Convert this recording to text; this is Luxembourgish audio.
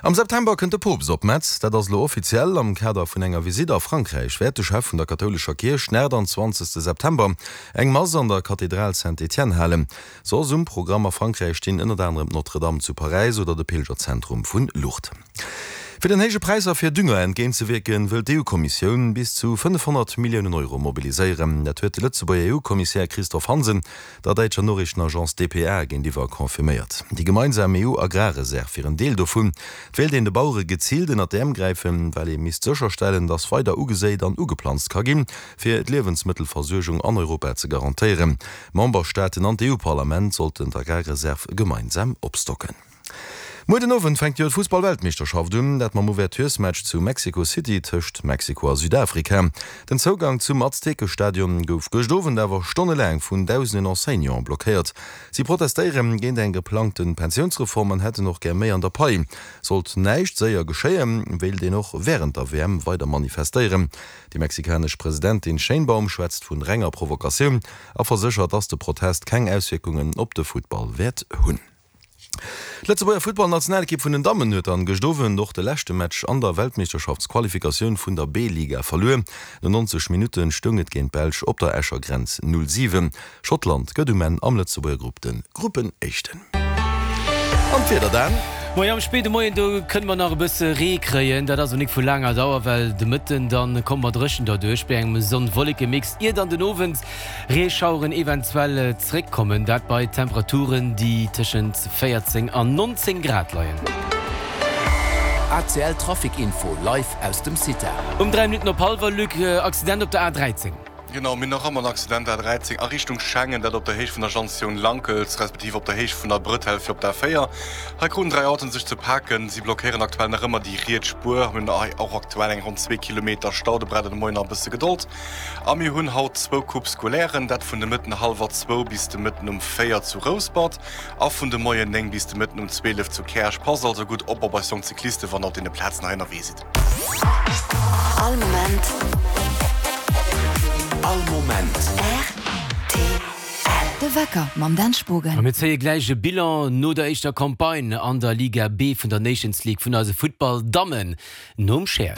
Am September kënnt de Poopst op Metz. Dat ass elo offiziell. Am Kader vun enger Visitt a Frankräich wäert de Chef vun der kathoulescher Kierch den 28 September eng Mass an der Kathedral Saint-Étienne halen. Soss um Programm a Frankräich stinn ënnert anerem d'Notre-Dame zu Paräis oder de Pilgerzentrum vun Lourdes. Fir den héije Präisser fir Dünger entgéintzewierken, wëll d'EU-Kommissioun bis zu 500 Milliounen Euro mobiliséieren. Dat huet de Lëtzebuerger EU-Kommissär Christophe Hansen der däitscher Noriichtenagence dpa géintiwwer confirméiert. Déi gemeinsam EU-Agrarreserv wier en Deel dovun. Et wéilt een de Bauere geziilt ënnert d'Äerm gräifen, well ee misst sécherstellen, datt weider ugeséit an ugeplanzt ka ginn, fir d'Liewensmëttelversuergung an Europa ze garantéieren. D'Memberstaaten an d'EU-Parlament sollten d'Agrarreserv gemeinsam opstocken. Muer den Owend fänkt jo d'Fussball-Weltmeeschterschaft un, dat mam Ouverturesmatch zu Mexico City tëscht Mexiko a Südafrika. Den Zougang zum Aztekestadion gouf gëscht Owend awer stonnelaang vun dausenden Enseignanten blockéiert. Si protestéiere géint eng geplangte Pensiounsreform an hätten och gär méi an der Pai. Sollt näischt séier geschéien, wéilt een och wärend der WM weider manifestéieren. Déi mexikanesch Presidentin Sheinbaum schwätzt vun renger Provokatioun a verséchert, dass de Protest keng Auswierkungen op de Futtball wäert hunn. D'Lëtzebuerger Futtballnationalekipp vun den Dammen huet dann gëscht Owend och de leschte Match an der Weltmeeschterschaftsqualifikatioun vun der B-Liga verluer. No 90 Minutte stoung et géint d'Belsch op der Escher Grenz 0, 7. Schottland gëtt um Enn am Lëtzebuerger Grupp de Gruppenéischten. An d'Wieder dan? Moien, am spéide Moien do kënne mer nach e bësse Ree kréien. Dat ass awer nik vu laanger Dauer, well de Mëtten dann komme mer dréchen derduerch bei engem Sonn-Wolleke-Mix, ier dann den Owend Reeschaueren eventuell zréckkommen, dat bei Temperaturen, déi tëschent 14 an 19 Grad leien. ACL Trafic Info live aus dem CITA. Um 3 Minutten op hallwer, Luc, Accident op der A13. Genau, mir hunn nach ëmmer en Accident, A13 a Richtung Schengen, dat op der Héicht vun der Jantioun Lankels, respektiv op der Héicht vun der Bretelle fir op d'A4. Hei kruten 3 Autoen sech ze paken. Si blockéieren aktuell nach ëmmer déi riets Spuer. Mir hunn hei och aktuell eng ronn zwee Kilometer Stau. Do braucht der de Moien nach e bësse Gedold. A mir hunn haut zwou Coupes scolairen, dat vun de Mëtten hallwer zwou bis de Mëtten um 4 zu Rouspert a vun de Moien 9 bis de Mëtten um 12 zu Käerch. Passt also gutt op op eis jonk Cyclisten, wann der op deene Plazen hei ënnerwee sidd. All Moment. All Moment. Rtl. De Wecker mam Dan Spogen. A mir zéie gläich e Bilan no der éischter Campagne an der Liga B vun der Nations League vun eise Futtball-Dammen nom Cher.